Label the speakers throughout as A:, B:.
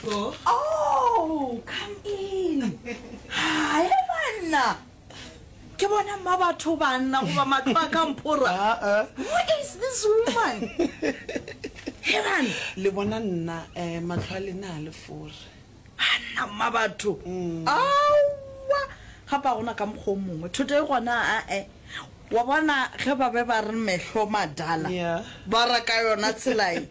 A: Oh, come in. Hae banna. Ke bona mma batho banna goba mahlo a ka mphora. Who is this woman? He banna.
B: Le bona nna eh mahlo a lena a le fore.
A: Banna mma batho. Aowa. Gape ga gona ka mokgwa o mongwe. Thoto e gona ae. Wa bona ge ba be ba re mehlo madala
B: Yeah.
A: ba ra ka yona tsela ye.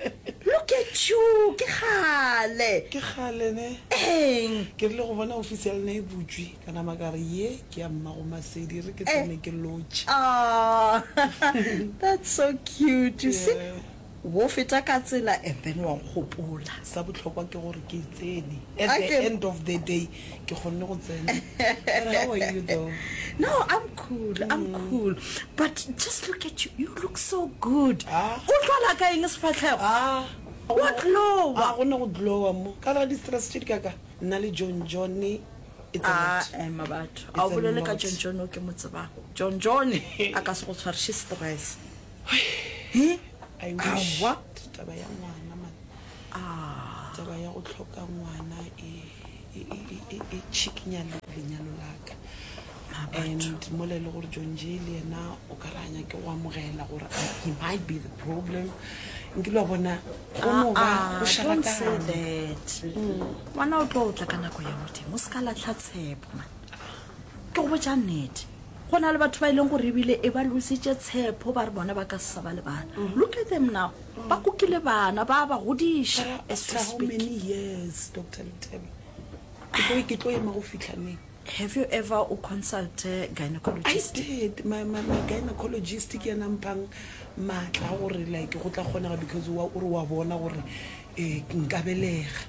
A: Look at you, ke kgale.
B: Ke kgale ne.
A: Eng?
B: Ke rile go bona ofisi ya lena e butšwe, ka nama ka re ye ke ya mmago Masedi, e re ke tsene ke lotšhe.
A: Aww, that's so cute. You see,
B: Yeah.
A: Wo feta ka tsela and then wa nkgopola.
B: Sa bohlokwa ke gore ke tsene. At the end of the day ke kgonne go tsena. But how are you though?
A: No, I'm cool, I'm cool. But just look at you, you look so good.
B: Ah.
A: O tlwala ka eng sefahlego?
B: Ah.
A: Wa glowa.
B: A gona go glowa mo. Ka ra di-stress tše di kaka. Nna le John John it's a
A: Ah,
B: lot.
A: ema batho.
B: It's
A: A o
B: a
A: bolele ka
B: lot.
A: John John o ke mo tsebang. John John a ka se go tshwariše stress. He?
B: I wish
A: Aowa.
B: taba ya ngwana man.
A: Ah.
B: Taba ya go hloka ngwana e e e e e e tšhikinya le lenyalo la ka. And mola e le gore John Jay le yena o ka re a nyake go amogela gore he might be the problem. Nkile wa bona go no ba
A: Ah,
B: go
A: ah, don't say
B: šarakane.
A: that. Ngwana o tlo tla ka nako ya Modimo. O se ka lahla tshepo man. Ke go botša nnete. Go na le batho ba e leng gore ebile e ba lositše tshepo ba re bona ba ka se sa ba le bana. Look at them now. Ba kukile bana, ba ba godiša
B: But
A: as we
B: after how
A: speak.
B: many years, Doctor Lethebe? Ke tlo ke tlo ema go fihla neng?
A: Have you ever o consulte
B: I
A: gynecologist?
B: did. My, my, my gynecologist ke yena a mphang maatla a gore like go tla kgonega because wa, o re wa bona gore eh, nka belega.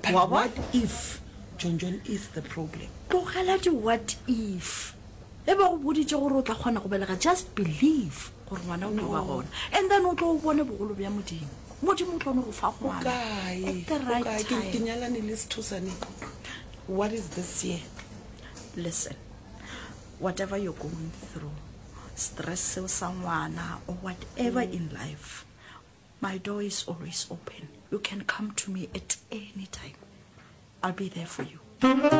B: But
A: Wa bona?
B: what if John John is the problem?
A: Tlogela di what if. Ge ba go boditše gore o tla kgona go belega, just believe gore ngwana o tlo ba gona. And then o tlo o bone bogolo bja Modimo. Modimo o tlo no go fa
B: O
A: ngwana
B: kae?
A: at the
B: O
A: right
B: kae? Ke, ke
A: time.
B: nyalane le Sethosane. What is this year?
A: Listen, whatever you're going through, stress seo sa ngwana or whatever in life, my door is always open. You can come to me at any time. I'll be there for you.